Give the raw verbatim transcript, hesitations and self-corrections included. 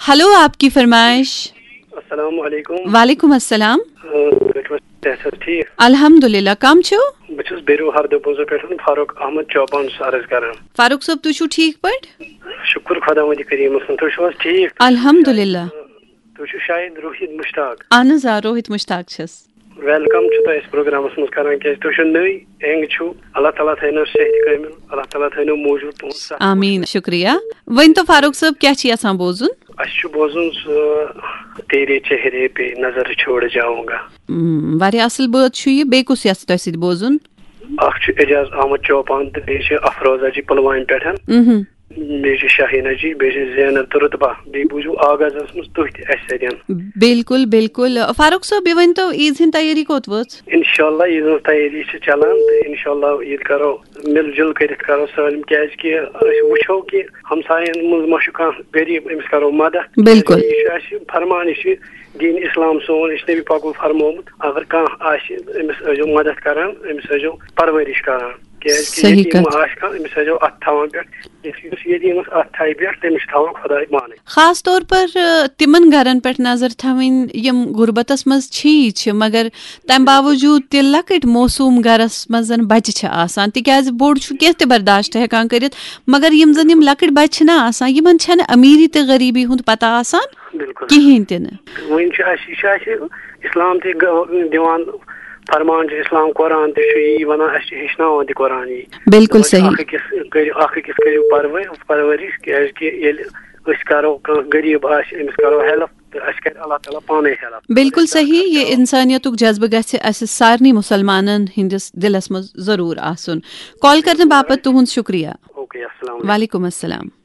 Hello, آپ کی فرمائش۔ السلام علیکم۔ وعلیکم السلام۔ آ، تُہۍ چھِو حظ صحت چھا ٹھیٖک؟ الحمدللہ، کم چھِو؟ بہٕ چھُس بیروٗ ہردٕ بوزو پٮ۪ٹھ فاروق احمد چوپان عرض کران۔ فاروق صٲب، تُہۍ چھِو ٹھیٖک پٲٹھۍ؟ شُکُر خۄداوندِ کریٖمس کُن، تُہۍ چھِو حظ ٹھیٖک؟ الحمدللہ۔ تُہۍ چھِو شاید روحید مشتاق۔ اہن حظ، آ، روحید مشتاق چھَس۔ ویلکم چھُ تۄہہِ أسۍ پروگرامس منٛز کران، کیازِ تُہۍ چھِو نٔوۍ، ینگ چھِو۔ اللہ تعالیٰ تھٲینو صحت کٲمِل، اللہ تعالیٰ تھٲینو موٗجوٗد تُہُنٛد صحت۔ آمین، شُکریہ۔ ؤنۍ تو فاروق صٲب، کیٛاہ چھِ یژھان بوزُن؟ اَسہِ چھُ بوزُن سُہ تیرے چہرے پہ نظر چھوڑ جاؤں گا۔ م، واریاہ اصل بٲتھ چھُ یہِ۔ بیٚیہِ کُس یژھِ تۄہہِ سۭتۍ بوزُن؟ اکھ چھُ اعجاز احمد چوپان تہٕ بیٚیہِ چھِ افروزہ جی پلوامہِ پٮ۪ٹھ، مہم۔ بیٚیہِ چھِ شاہیٖنہ جی، بیٚیہِ چھِ زینت تہٕ رُتبہ، بیٚیہِ بوٗزِو آغازس منٛز تُہۍ تہِ اَسہِ سۭتۍ۔ بالکل، بالکل۔ فاروق صٲب، یہِ ؤنۍ تو، عیٖد ہٕنٛز تیٲری کوٚت وٲژ؟ انشاءاللہ عیٖد ہٕنٛز تیٲری چھِ چلان تہٕ انشاءاللہ عیٖد کرو مِل جُل کٔرِتھ کرو سٲلِم، کیازِ کہِ أسۍ وٕچھو کہِ ہمساین منٛز ما چھُ کانٛہہ غریٖب، أمِس کرو مدد۔ بالکل۔ یہِ چھُ اَسہِ فرمان، یہِ چھُ دیٖن اسلام سون، یہِ چھُ نبی پاکو فرمومُت، اگر کانٛہہ آسہِ أمِس ٲسۍزیو مدد کران، أمِس ٲسۍزیو پرورش کران، کیازِ کہِ صحیح یتیٖم کتھ۔ ما آسہِ کانٛہہ، أمِس ٲسۍزیو اتھ تھاوان پٮ۪ٹھ، یُس یُس یتیٖمس اتھ تھایہِ پٮ۪ٹھ، تٔمِس چھُ تھاوان خۄداے پانے۔ خاص طور پر، آ، تِمن گرن پٮ۪ٹھ نظر تھاوٕنۍ یِم غربتس منٛز چھِی چھِ، مگر تمہِ باوجود تہِ لۄکٕٹۍ معصوم گرس منٛز زن بچہِ چھِ آسان، تِکیازِ بوٚڑ چھُ کینٛہہ تہِ برداشت ہٮ۪کان کٔرِتھ، مگر یِم زن یِم لۄکٕٹۍ بچہِ چھِنہ آسان، یِمن چھنہٕ امیٖری تہٕ غریٖبی ہُنٛد پتہ آسان بالکل۔ کِہیٖنۍ تہِ نہٕ۔ وۄنۍ چھُ اَسہِ، یہِ چھُ اَسہِ اسلام تہِ گ- دِوان فرمان، چھُ اسلام قرآن تہِ چھُ یی ونان، اَسہِ چھُ ہیٚچھناوان تہِ قرآن یی۔ بالکل دَپان چھِ صحیح۔ اکھ أکِس کٔرِو، اکھ أکِس کٔرِو پرور-، پرورش، کیازِ کہِ ییٚلہِ أسۍ کرو، کانٛہہ غریٖب آسہِ، أمِس کرو ہیلپ، تہٕ اَسہِ کرِ اللہ تعالیٰ پانے ہیلپ۔ بالکل صحیح۔ یہِ انسانیتُک جذبہٕ گژھِ اسہِ سارنٕے مسلمانن ہٕنٛدِس دِلس منٛز ضروٗر آسُن۔ کال کرنہٕ باپتھ تُہُنٛد شُکریہ۔ اوکے، السلام علیکم۔ وعلیکم السلام۔